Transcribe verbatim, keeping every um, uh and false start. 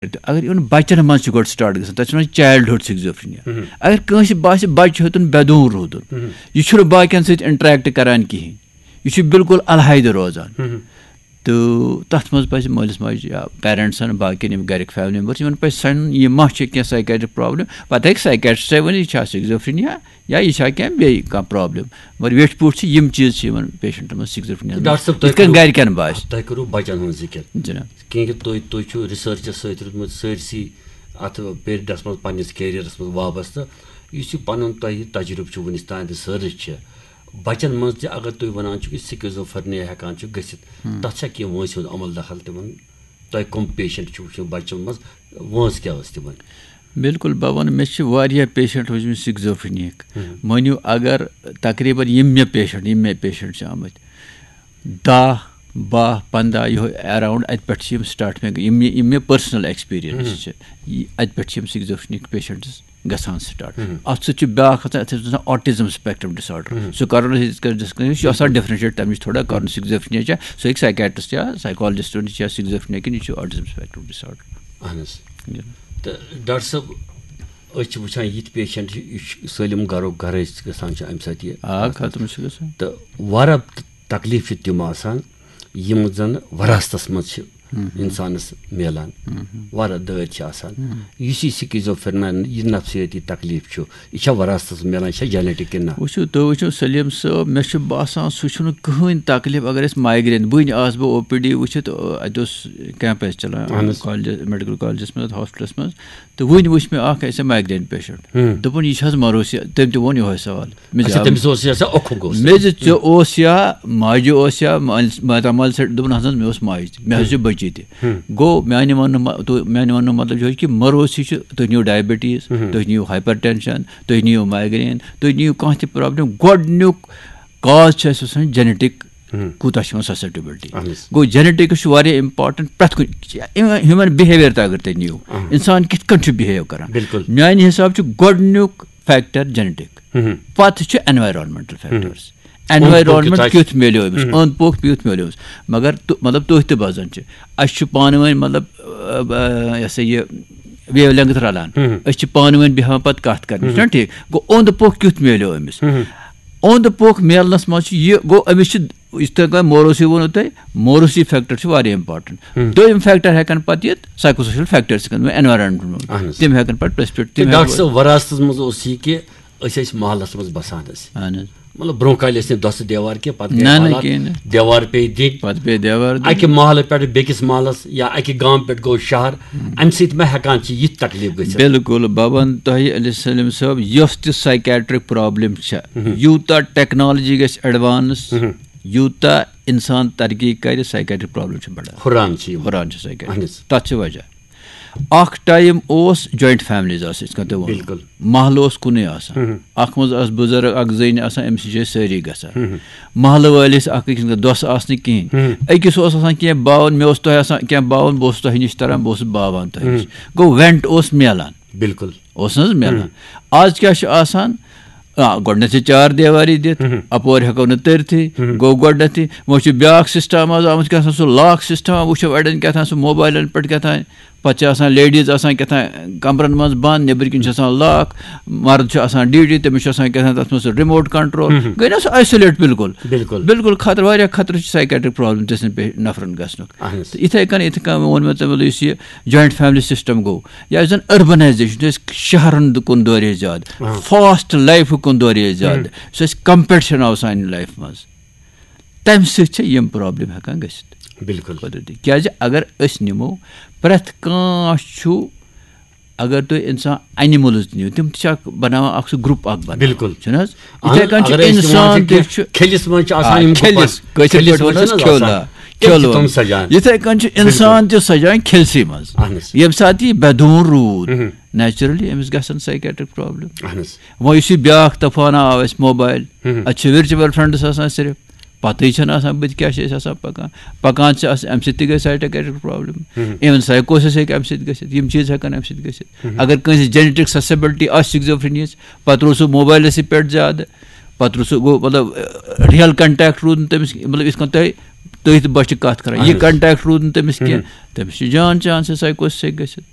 تہٕ اگر یِمن بچن منٛز چھُ گۄڈٕ سٹارٹ گژھان، تَتھ چھِ وَنان چایلڈہُڈ سِکزوفرینیا۔ اگر کٲنٛسہِ باسہِ بچہِ ہیوٚتُن بے دون روٗدُن، یہِ چھُنہٕ باقین سۭتۍ انٹریکٹ کران کِہیٖنۍ، یہِ چھُ بالکل الحیدٕ روزان۔ تہٕ تَتھ منٛز پَزِ مٲلِس ماجہِ یا پیرنٹسن، باقین یِم گرِکۍ فیملی ممبرس، یِمن پَزِ سَنُن یہِ ما چھِ کینٛہہ سایکیٹرک پرابلم۔ پَتہٕ ہیٚکہِ سایکیٹرسٹے ؤنِتھ، یہِ چھا سِکزوفرینیا یا یہِ چھا کینٛہہ بیٚیہِ کانٛہہ پرابلم۔ مگر ویٹھۍ پٲٹھۍ چھِ یِم چیٖز چھِ یِمن پیشنٹن منٛز سکزوفرینیا ڈاکٹر صٲب، تۄہہِ یِتھ کٔنۍ کٔرِو، گرِکٮ۪ن باسہِ۔ تۄہہِ کٔرِو بچن ہٕنٛز ذِکِر۔ جِناب۔ کیونکہ تُہۍ، تُہۍ چھِو ریسرچس سۭتۍ روٗدمُت سٲرسٕے اتھ پیریڈس منٛز پننِس کیریئرس منٛز وابستہٕ۔ یُس یہِ پنُن تۄہہِ تجربہٕ چھُ وُنِس تام ریسرچ چھِ، بچن منٛز تہِ اگر تُہۍ ونان چھِو کہِ سکزوفرینیا ہٮ۪کان چھُ گٔژھِتھ، تتھ چھا کینٛہہ وٲنٛسہِ ہُنٛد عمل دخل تِمن؟ تۄہہِ کٕم پیشنٹ چھِو وٕچھمٕتۍ بچن منٛز، وٲنٛس کیٛاہ ٲس تِمن؟ بالکل، بہٕ وَنہٕ، مےٚ چھِ واریاہ پیشنٹ وٕچھمٕتۍ سکزوفرینیاہٕکۍ۔ مٲنِو، اگر تقریباً یِم مےٚ پیشنٹ، یِم مےٚ پیشنٹ چھِ آمٕتۍ، دَہ، باہ، پنٛداہ، یِہوٚے اراؤنڈ، اَتہِ پٮ۪ٹھ چھِ یِم سٹارٹ مےٚ، یِم مےٚ، یِم مےٚ پٔرسنل ایکسپیرینس چھِ، یہِ، اَتہِ پٮ۪ٹھ چھِ یِم سکزوفرینیاہٕکۍ پیشنٹس گژھان سٹارٹ۔ اَتھ سۭتۍ چھُ بیٛاکھ آسان، اَتھ چھِ آسان آٹزم سپیکٹرم ڈس آرڈر۔ سُہ کرو نہٕ أسۍ یِتھ کٔنۍ ڈسکس، یہِ چھُ آسان ڈفرینشیٹ، تَمِچ چھِ تھوڑا کرُن سکزوفرینیا چھا، سُہ ہیٚکہِ سایکیٹرسٹ یا سایکالجسٹ ؤنِتھ، یہِ چھا سکزوفرینیا کِنہٕ یہِ چھُ آٹزم سپیکٹرم ڈس آرڈر۔ اہن حظ۔ جِناب۔ تہٕ ڈاکٹر صٲب، أسۍ چھِ وٕچھان یِتھ پیشنٹ، یہِ چھُ سٲلِم گرو گرے گژھان چھُ اَمہِ سۭتۍ یہِ آ، ختم چھُ گژھان۔ تہٕ واریاہ تکلیٖف چھِ تِم آسان، یِم زَن وراثتس منٛز چھِ اِنسانَس میلان۔ واریاہ دٲدۍ چھِ آسان۔ یُس یہِ سکیزوفرینیا، یہِ نفسیٲتی تکلیٖف چھُ، یہِ چھا وراثتس منٛز میلان، یہِ چھا جینیٹک کِنہٕ نہ؟ وٕچھِو، تُہۍ وٕچھِو سلیٖم صٲب، مےٚ چھُ باسان سُہ چھُنہٕ کٕہٕنۍ تکلیٖف۔ اگر أسۍ مایگرین، وٕنۍ آس بہٕ او پی ڈی وٕچھِتھ، اَتہِ اوس کیمپ اَسہِ چلان اہن حظ۔ کالجس، میڈیکل کالجس منٛز، ہاسپٹلس منٛز، تہٕ وٕنۍ وٕچھ مےٚ اکھ ایسے مایگرین پیشنٹ۔ ہُم۔ دوٚپُن، یہِ چھِ حظ مروثی؟ تٔمۍ تہِ ووٚن یِہوٚے سوال۔ مےٚ اچھا، دوٚپ، تٔمِس اوس یہِ آسان اوٚکھُک اوس۔ مےٚ زِ ژےٚ اوس یا ماجہِ اوس یا مٲلِس، ماتامال سۭتۍ، دوٚپُن، اَہن حظ، مےٚ اوس ماجہِ تہِ، مےٚ حظ چھِ بٔچی تہِ۔ ہُم۔ گوٚو، میٛانہِ وَننہٕ مہ-، تو-، میٛانہِ وَننہٕ مطلب چھُ کہِ مروثی چھُ، تُہۍ نِیِو ڈایبٹیٖز، ہُم۔ تُہۍ نِیِو ہایپر ٹینشن، تُہۍ نِیِو مایگرین، تُہۍ نِیِو کانٛہہ تہِ پرابلم، گۄڈٕنیُک کاز چھُ اَسہِ آسان جینیٹک، ہُم۔ کوٗتاہ چھِ یِمن سسیپٹیبلٹی۔ اہن حظ۔ گوٚو، جینیٹکس چھُ واریاہ امپارٹنٹ پرٛٮ۪تھ کُنہِ، ہیومن بِہیویئر تہِ اگر تُہۍ نِیِو، اہن۔ انسان کِتھ کٔنۍ چھُ بِہیو کران۔ بِلکُل۔ میانہِ حساب چھُ گۄڈٕنیُک فیکٹر جینیٹک، ہُم۔ پتہٕ چھُ انوائرمنٹل فیکٹرز۔ انوائرمنٹ کیُتھ میلیو أمِس، ہُم۔ اوٚنٛد پوٚکھ کیُتھ میلیو أمِس۔ مگر تُ-، مطلب، تُہۍ تہِ بوزان چھِ، اَسہِ چھُ پانہٕ ؤنۍ، مطلب، اہ، یہِ ہسا یہِ ویو لینگتھ رلان۔ ہُم۔ أسۍ چھِ پانہٕ ؤنۍ بیٚہوان پتہٕ کتھ کرنہِ، ہُم۔ چھُنہ ٹھیٖک؟ گوٚو، اوٚنٛد پوٚکھ کیُتھ میلیو أمِس؟ ہُم۔ اوٚنٛد پوٚکھ میلنس منٛز چھُ یہِ، گوٚو، أمِس چھِ یِتھ کٔنۍ مےٚ موروثی ووٚنوُ تۄہہِ، موروثی فیکٹر چھُ واریاہ امپارٹنٹ۔ ہُم۔ دوٚیِم فیکٹر ہٮ۪کن پتہٕ یِتھ سایکوسوشل فیکٹرز، یِتھ کٔنۍ وۄنۍ انوائرمنٹ ووٚن۔ اہن حظ۔ تِم ہٮ۪کن پتہٕ پریسپیکٹ، تہٕ تِم ڈاکٹر ہٮ۪کن صٲب، وراثتس منٛز اوس یہِ کہِ أسۍ ٲسۍ محلس منٛز بسان ٲسۍ۔ اہن حظ۔ مطلب، برونٛہہ کالہِ ٲسۍ نہٕ دۄسہٕ دیوار کینٛہہ، پتہٕ گٔے نہ، نہ، حالات، کِہیٖنۍ نہٕ۔ دیوار پیٚیہِ دِنۍ۔ پتہٕ پیٚیہِ دیوار دیُن۔ اکہِ محلہٕ پٮ۪ٹھ بیٚکِس محلس یا اکہِ گامہٕ پٮ۪ٹھ گوٚو شہر، ہُم۔ امہِ سۭتۍ ما ہٮ۪کان چھِ یِتھ تکلیٖف گٔژھِتھ؟ بِلکُل، بہٕ وَنہٕ تۄہہِ، علی سلیم صٲب، یۄس تہِ سایکیٹرک پرابلم چھےٚ، ہُم۔ یوٗتاہ ٹیکنالوجی گژھِ ایڈوانس، ہُم۔ یوٗتاہ انسان ترقی کرِ، سایکیٹرک پرابلم چھِ بڑان۔ ہُران چھِ یِم۔ ہُران چھِ سایکیٹرک۔ اہن حظ۔ تتھ چھِ وجہ۔ اکھ ٹائم اوس جوائنٹ فیملیز آسہٕ، یِتھ کٔنۍ تۄہہِ ووٚنوُ۔ بِلکُل۔ محلہٕ اوس کُنُے آسان۔ ہُم۔ اکھ منٛز آسہٕ بُزرگ، اکھ زٔنۍ آسان، أمِس نِش ٲسۍ سٲری گژھان۔ ہُم۔ محلہٕ وٲلۍ ٲسۍ اکھ أکِس نِش، دۄسہٕ آسہٕ نہٕ کِہیٖنۍ۔ ہُم۔ أکِس اوس آسان کینٛہہ باوَن، مےٚ اوس تۄہہِ آسان کینٛہہ باوَن، بہٕ اوسُس تۄہہِ نِش تران، بہٕ اوسُس باوان تۄہہِ نِش۔ ہُم۔ گوٚو، وینٹ اوس میلان۔ بِلکُل۔ اوس نہٕ حظ میلان؟ ہُم۔ آز کیٛاہ چھُ آسان؟ آ، گۄڈٕنٮ۪تھ چھِ چار دیواری دِتھ، ہُم۔ اَپورِ ہٮ۪کو نہٕ تٔرتھٕے، ہُم۔ گوٚو گۄڈٕنٮ۪تھٕے، وۄنۍ چھُ بیٛاکھ سسٹم آز آمُت، کیٛاہ سا سُہ لاک سسٹم، وٕچھو اَڑٮ۪ن کیٛاہ تام سُہ موبایلَن پٮ۪ٹھ کیٛاہ تام، پَتہٕ چھِ آسان لیڈیٖز آسان کیٛاہ تام کَمرَن منٛز بنٛد، نیٚبٕرۍ کِنۍ چھِ آسان لاک، مرد چھُ آسان ڈیوٹی، تٔمِس چھُ آسان کیٛاہ تام تَتھ منٛز سُہ ریموٹ کنٹرول، ہُم۔ گٔے نہ سُہ آیسولیٹ بِلکُل۔ بِلکُل۔ بِلکُل خطرٕ، واریاہ خطرٕ چھُ سایکیٹرک پرابلم تہِ سٕنٛدۍ پے-، نفرَن گژھنُک۔ اہن حظ۔ تہٕ یِتھَے کٔنۍ، یِتھَے کٔنۍ ووٚن مےٚ تۄہہِ، مطلب، یُس یہِ جوائنٹ فیملی سسٹم گوٚو، یا یُس زَن اربنائزیشن چھُ، أسۍ شہرن کُن دورے زیادٕ، آ۔ فاسٹ لائف کُن دورے زیادٕ، ہم۔ یُس اَسہِ کمپیٹشن آو سانہِ لائف منٛز، تَمہِ سۭتۍ چھِ یِم پرابلم ہٮ۪کان گٔژھِتھ۔ بِلکُل۔ قۄدرتی۔ کیازِ اگر أسۍ نِمو، پرٛٮ۪تھ کانٛہہ چھُ، اگر تُہۍ انسان، اینیملز تہِ نِیِو، تِم تہِ چھِ اکھ بناوان، اکھ سُہ گروپ اکھ بناوان۔ بِلکُل۔ چھُنہٕ حظ؟ اہن، یِتھَے کٔنۍ چھُ اگر أسۍ نِوان انسان چھِ تہِ کینٛہہ چھُ، کھِلِس منٛز چھِ آسان آ، یِم کھِلِس، گُپن۔ کٲشِر کھِلِس پٲٹھۍ منٛز وَنان چھِنہٕ حظ کھیوٚو آسان۔ لا۔ تِم چھِ کھیوٚو تِم لا۔ سجان۔ یِتھَے کٔنۍ چھُ بِلکُل۔ انسان تہِ سجان کھِلسٕے منٛز۔ اہن حظ۔ ییٚمہِ ساتہٕ یہِ بے دون روٗد، مہم۔ نیچرلی أمِس گژھن سایکیٹرک پرابلم۔ اہن حظ۔ وۄنۍ یُس یہِ بیٛاکھ طوفانہ آو اَسہِ موبایل، مہم۔ اَتہِ چھِ ورچوئل فرینڈس آسان صرف، پتہٕے چھَنہٕ آسان بٕتھِ کیٛاہ چھِ أسۍ آسان پکان۔ پکان چھِ آسان، اَمہِ سۭتۍ تہِ گژھِ سایکیٹرک پرابلم۔ مہم۔ Even psychosis ہیٚکہِ اَمہِ سۭتۍ گٔژھِتھ۔ یِم چیٖز ہٮ۪کن اَمہِ سۭتۍ گٔژھِتھ۔ مہم۔ اگر کٲنٛسہِ جینیٹک سسیپٹیبلٹی آسہِ سکزوفرینیاہٕچ، پتہٕ روٗد سُہ موبایلَسٕے پٮ۪ٹھ زیادٕ، پتہٕ روٗد سُہ، گوٚو، مطلب، ریئل کنٹیکٹ روٗد نہٕ تٔمِس، مطلب، یِتھ کٔنۍ تۄہہِ تٔتھۍ بۄچھِ کتھ کران، یہِ کنٹیکٹ روٗد نہٕ تٔمِس کینٛہہ، تٔمِس چھِ جان چانسز سایکوسس سۭتۍ گٔژھِتھ۔